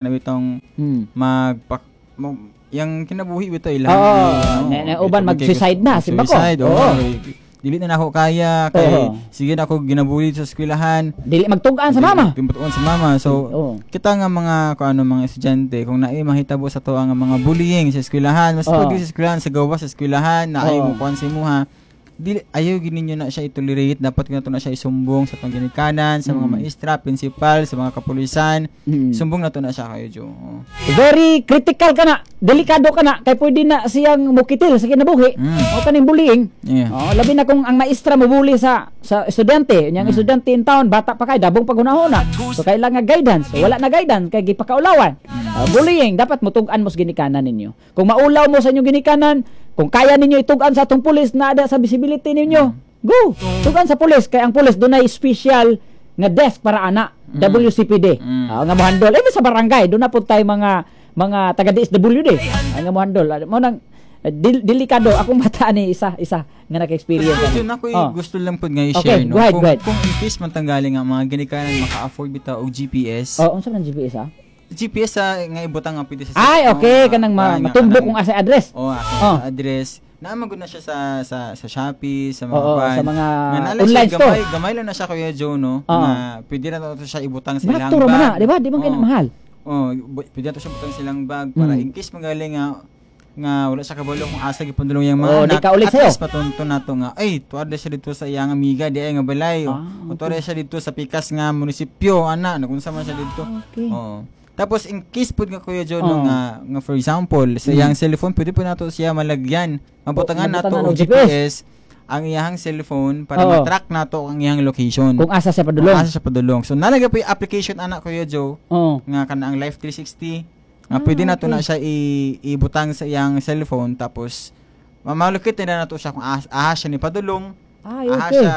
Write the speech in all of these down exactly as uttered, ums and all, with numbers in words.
Na bitong Hmm. magpak mo, yang kinabuhi bitaw ilang. Oo, na- na- uban mag-suicide na, simba ko. Suicide, oo. Oo. Dili na nako kaya kay Oo. sige na ako ginabuli sa eskwelahan. Dili magtug-an sa mama. Dili magtug-an sa mama. So Oo. kita nga mga kung ano, mga estudyante, kung naay mahitabo sa to ang mga bullying sa eskwelahan, mas Oo. pag sa eskwelahan, sa gawas sa eskwelahan na ay Oo. mo kuan sa imuha, dili ayaw gid ninyo na siya itolerate. Dapat gyud nato na siya isumbong sa atong ginikanan, sa mga Mm. maestra, principal, sa mga kapulisan. Mm. Sumbong nato na siya kayo, Jo. Oo. Very critical ka na, delikado ka na, kay pwede na siyang mukitil sa kinabuhi. Mm. O kaning bullying. Yeah. Oh, labi na kung ang maestra mobully sa sa estudyante, unyang Mm. estudyante in town, bata pa kay dabong paghunahuna. So kailangan guidance. So, wala na guidance kay gipakaulawan. Mm. Uh, bullying dapat mutug-an mo sa ginikanan ninyo. Kung maulaw mo sa inyong ginikanan, kung kaya ninyo itug-an sa atong pulis na ada sa visibility ninyo, Mm. go. Tug-an sa pulis kay ang pulis dunay special nga desk para ana, W C P D. Mm. Ah, nga mohandol. Eh sa barangay, doon na po tayo mga mga taga D S W D. Ay nga mohandol. Ah, Mo nang eh, dil, delikado akong bata ni isa isa nga naka-experience Pero ani. yun ako Oh. gusto lang pud nga i-share, Okay, no. go ahead, kung, go ahead. Kung in case man tanggali nga mga ginikanan maka-afford bitaw og G P S. Oh, unsa man ang G P S ah? G P S sa nga ibutang nga pwede sa Ay, cellphone, okay, nga- kanang ma- nga matumbok kanang- kung asa address. Oh, asa Oh. address. Naa man gud na siya sa sa sa Shopee, sa mga Oo, kuan. sa mga Nga naa lang online siya, store. Gamay, gamay lang na siya, Kuya Joe, no. Oo. Na pwede na to siya ibutang sa ilang Bato ra man na, bag. di ba? Di man kay na Oo. mahal. Oh, bu- pwede na to siya butang silang bag para Mm. in case magaling nga nga wala siya kabalo kung asa gipundulong yang mga Oh, di anak. ka ulit At sa'yo. least patunto nato nga ay tuad na siya dito sa iyang amiga di ay nga balay. Ah, O tuad na siya dito sa pikas nga munisipyo ana nagunsa man siya dito. Okay. Oo. Tapos in case pud nga, Kuya Joe, no, Oo. nga nga for example sa iyang cellphone pwede po nato siya malagyan. Mabutangan Oh, nato mabutangan og og G P S ang iyang cellphone para Oo. ma-track nato ang iyang location. Kung asa siya padulong. Kung asa siya padulong. So nalagay po yung application ana, Kuya Joe, Oo. nga kana ang Life three sixty nga Ah, pwede nato okay. na siya i- ibutang sa iyang cellphone, tapos mamalukit na nato siya kung ahas, ahas siya ni padulong. Ay, Ahas okay. siya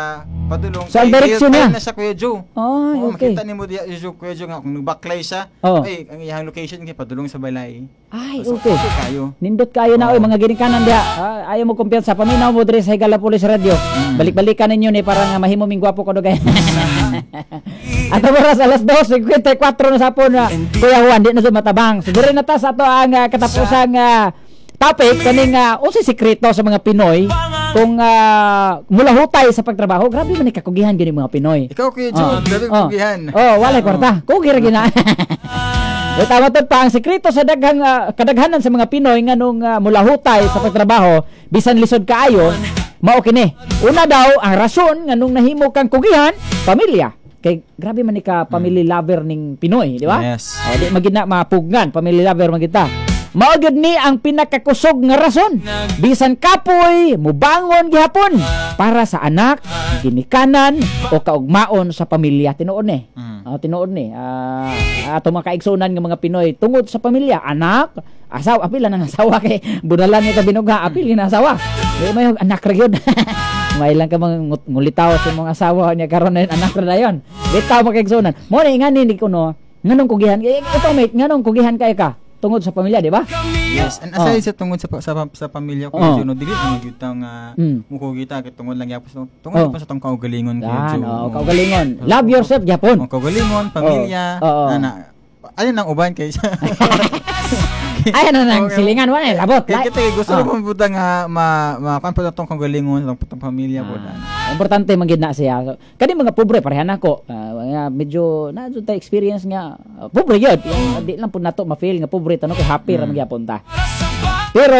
padulong. So, ang Kay direksyon real time niya? na siya, Kuya Joe. Ay, Oo, okay. makita nimo diya, Joe, Kuya Joe, nga kung nagbaklay siya, Oo. ay ang iyang location kay padulong sa balay. Ay, So, okay. okay kayo. Nindot kayo na Oo. oy mga ginikanan diha. Ah, ayaw mo kumpiyansa, paminaw mo diri sa Higala Police Radio. Mm. Balik-balikan ninyo ni para nga mahimo ming gwapo kadugay. At oras alas dos singkwenta y kwatro na sa hapon na, Kuya Juan, di na sa matabang. So diri na ta sa ato ang uh, katapusang ah, topic kaning uh, unsay sekreto sa mga Pinoy kung uh, mulahutay sa pagtrabaho. Grabe man ni kakugihan gini mga Pinoy. Ikaw, Kuya Joe, Oh. grabe Oh. kugihan. Oh, walay kwarta. Kugi ra gina. Eh, tama to pa ang sekreto sa daghang ah, kadaghanan sa mga Pinoy nganong uh, mulahutay sa pagtrabaho bisan lisod kaayo mao kini. Una daw ang rason nganong nahimo kang kugihan, pamilya. Kay grabe man ni ka family lover ning Pinoy, di ba? Yes. O, di magid na mapugnan, family lover man kita. Mao gyud ni ang pinakakusog nga rason. Bisan kapoy, mubangon gihapon para sa anak, ginikanan o kaugmaon sa pamilya. Tinuod ni. Mm. Ah, tinuod ni. Ah, ato mga kaigsunan nga mga Pinoy tungod sa pamilya, anak, asawa, apil lang ang asawa kay bunalan ni ta binuga, apil gina asawa. Di may anak ra gyud. May lang ka mga ngut- ngulitaw sa imong asawa niya karon na yun, anak ra dayon. Bitaw mga kaigsunan. Mo ni ngani ni kuno, nganong kugihan? Eh, ito mate, nganong kugihan kay ka? Tungod sa pamilya, di ba? Yes, and aside sa tungod sa sa, sa pamilya ko, Oh. Joe, no, dili man gyud ta nga Mm. mukugi ta kay tungod lang gyapon sa tungod Oh. pa sa tong kaugalingon, Kuya Yan, Joe. oh, kaugalingon. Love yourself gyapon. Ang kaugalingon, pamilya, Oo. Oo. ana. Ano nang uban kay siya? Ay, ano nang Okay. silingan wala eh, labot. Kay kita eh, gusto Oh. mo buta nga ma ma kuan pa tong kaugalingon, tong tong pamilya po Ah, na. importante man gid na siya. So, kani mga pobre parehan nako. Ah, nga medyo na jud ta experience nga ah, pobre yun. Yung, di lang pud nato ma-feel nga pobre tano kay happy ra man gyapon ta. Pero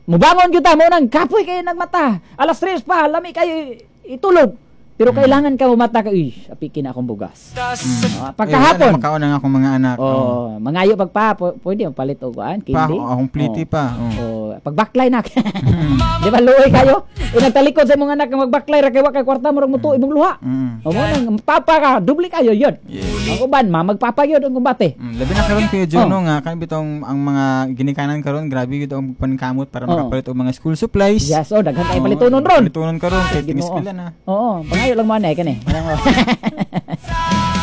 mubangon gyud ta mo nang kapoy kay nagmata. Alas tres pa lami kayo itulog. Pero kailangan ka mumata ka, uy, apikin na akong bugas. Ah, pagkahapon. Eh, wala na, makaon na nga akong mga anak. Oh. Oh, mangayo pagpa, pu- pwede mo palit og kuan, Pa, candy. akong pliti Oh. pa. Oh. Oh, pagbaklay na. Di ba luoy kayo? E nagtalikod sa imong anak nga magbaklay ra kay wa kay kwarta murag mutuo imong luha. Mm. O mo nang papa ka, dubli kayo yun. Yes. Ang uban, ma magpapa yun ang kumbate. Mm, labi na karon, Kuya Joe, Oh. no, nga kan bitong ang mga ginikanan karon grabe gyud ang pankamot para Oh. makapalit og mga school supplies. Yes, oh, daghan kay Oo, palitunon ron. Palitunon karon kay Ginoo. ting-eskwela na. Oo, pangayo lang mo anay kani.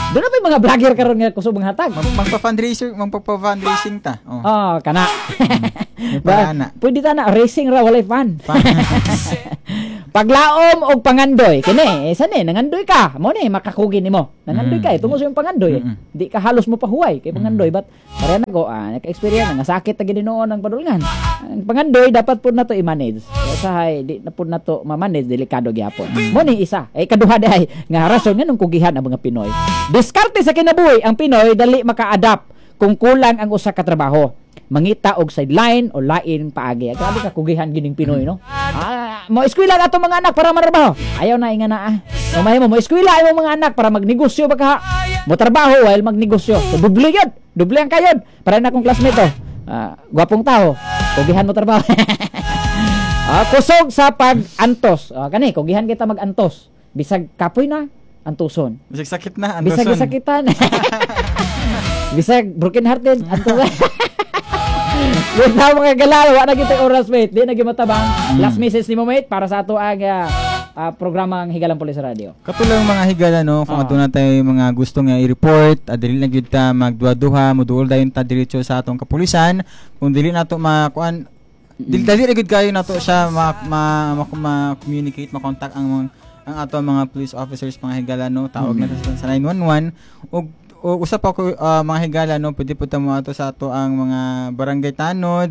Doon na pa yung mga vlogger karon nga kusog mga hatag. Mag magpa-fundraiser, magpa-fundraising ta. Oh. Oh, kana. May paraan na. Pwede ta na racing ra walay fun. Fun. Paglaom og pangandoy kini, eh, sani nangandoy ka, mo ni makakugi nimo. Nangandoy ka eh, tungod sa imong pangandoy. Eh. Mm-mm. Di ka halos mo pahuway kay pangandoy, but pareha na ko ah, naka-experience nga sakit na gid noon ang padulngan. Ang pangandoy dapat pud nato i-manage. Kaya sahay di na pud nato ma-manage, delikado gyapon. Mo ni isa. Eh kaduha diay nga rason nganong kugihan ang mga Pinoy. Diskarte sa kinabuhi ang Pinoy, dali maka-adapt kung kulang ang usa ka trabaho. Mangita og sideline o lain paagi. Grabe ka kugihan gining Pinoy, no? Ah, mo eskwela na atong mga anak para matrabaho. Ayaw na inga na ah. O mahimo mo eskwela imong mga anak para magnegosyo ba ka? Mo trabaho while magnegosyo. So doble yun. Doble ang kayod. Para na akong classmate oh. Ah, gwapong tao. Kugihan mo trabaho. ah, kusog sa pag-antos. Ah, kani kugihan kita mag-antos. Bisag kapoy na, antuson. Bisag sakit na, Bisag andoson. sakitan. Bisag broken hearted, antuson. Wait na mga galala, wa na kita oras, mate. Di na gyud matabang. Last message nimo, mate, para sa ato ang ah, ah, programang Higalang Pulis Radio. Katulong mga higala, no, kung Ah. aduna tayo mga gusto nga i-report, ah, dili na gyud ta magduha-duha, moduol dayon ta diretso sa atong kapulisan. Kung dili nato makuan, dili dali ra gyud kayo nato siya ma, ma, ma, ma-communicate, ma-contact ang mga ang ato mga police officers, mga higala, no, tawag na sa, sa nine one one ug o usa pa ko, ah, mga higala, no, pwede po ta mo ato sa ato ang mga barangay tanod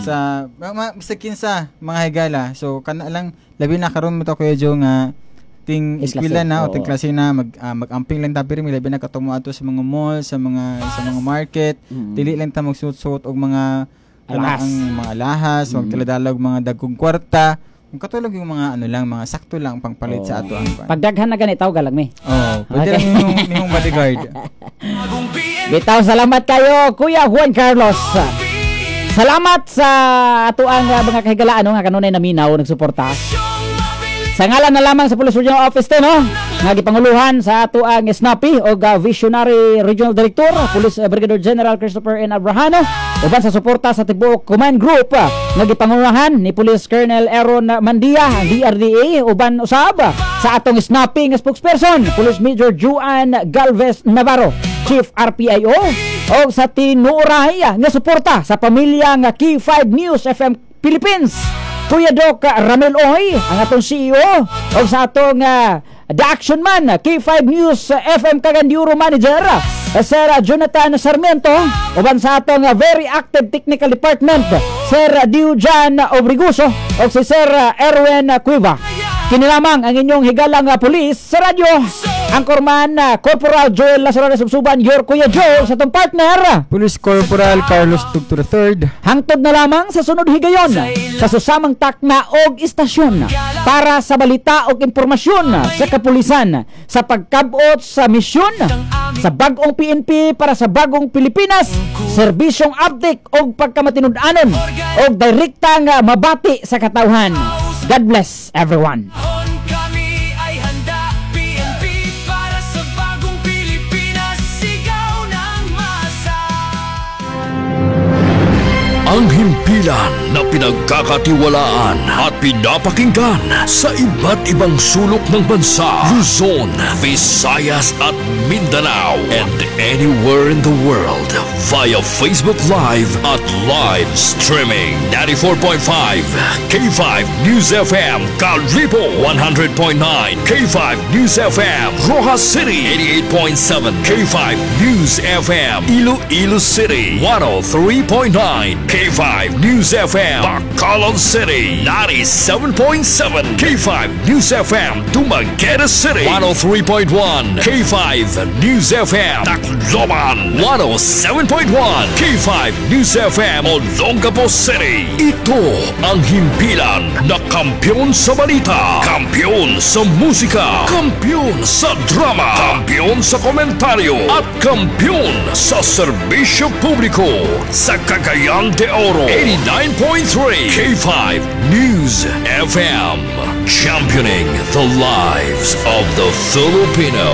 sa mga basta kinsa, mga higala. So kana lang, labi na karon mo to, Kuya Joe, nga ting Ting eskwela klase, na o oo. ting klase na, mag ah, mag-amping lang ta pirmi, labi na katong mo ato sa mga mall, sa mga sa mga market. Mm. Dili lang ta magsuot-suot og mga Alahas. ang mga alahas, mm. magdala og mga dagkong kwarta, kung katulog yung mga ano lang, mga sakto lang pangpalit sa ato ang kwan. Pagdaghan na ganit, tawag lang mi. Oh, pwede Okay. lang yung nimong bodyguard. Bitaw, salamat kayo, Kuya Juan Carlos. Salamat sa atuang uh, mga kahigalaan, no, nga kanunay naminaw nagsuporta. Sa ngalan na lamang sa Police Regional Office to, no, nga gipanguluhan sa atuang Snappy o uh, Visionary Regional Director Police uh, Brigadier General Christopher N. Abrahano, uban sa suporta sa tibuok Command Group uh, nga gipanguluhan ni Police Colonel Aaron Mandia, ang D R D A, uban usab sa atong Snappy nga spokesperson Police Major Juan Galvez Navarro, Chief R P I O, o sa tinuoray nga suporta sa pamilya nga K five News F M Philippines, Kuya Doc Ramel Oy, ang atong C E O, o sa atong uh, The Action Man, K five News F M Cagayan de Oro Manager, Sir Jonathan Sarmiento, uban sa atong uh, very active technical department, Sir Diujan Obriguso, o si Sir Erwin Cueva. Kini lamang ang inyong higalang uh, pulis sa radyo. Anchorman uh, Corporal Joel Lazaro Subsuban, your Kuya Joe, sa atong partner Police Corporal Carlos Tugto the Third. Hangtod na lamang sa sunod higayon sa susamang takna og istasyon para sa balita og impormasyon sa kapulisan, sa pagkabot sa misyon sa bagong P N P para sa bagong Pilipinas, serbisyong update og pagkamatinud-anon og direkta nga mabati sa katawhan. God bless everyone. Kami ay handa, P N P para sa bagong Pilipinas, sigaw ng masa. Ang himpilan na pinagkakatiwalaan at pinapakinggan sa iba't ibang sulok ng bansa, Luzon, Visayas at Mindanao, and anywhere in the world via Facebook Live at live streaming. ninety-four point five K five News F M Calibo, one hundred point nine K five News F M Roxas City, eighty-eight point seven K five News F M Iloilo City, one oh three point nine K five News F M Bacolod City, ninety-seven point seven K five News F M Dumaguete City, one oh three point one K five News F M Tacloban, one oh seven point one K five News F M Olongapo City. Ito ang himpilan na kampiyon sa balita, kampiyon sa musika, kampiyon sa drama, kampiyon sa komentaryo at kampiyon sa serbisyo publiko sa Cagayan de Oro. eighty-nine point three K five News F M, championing the lives of the Filipino.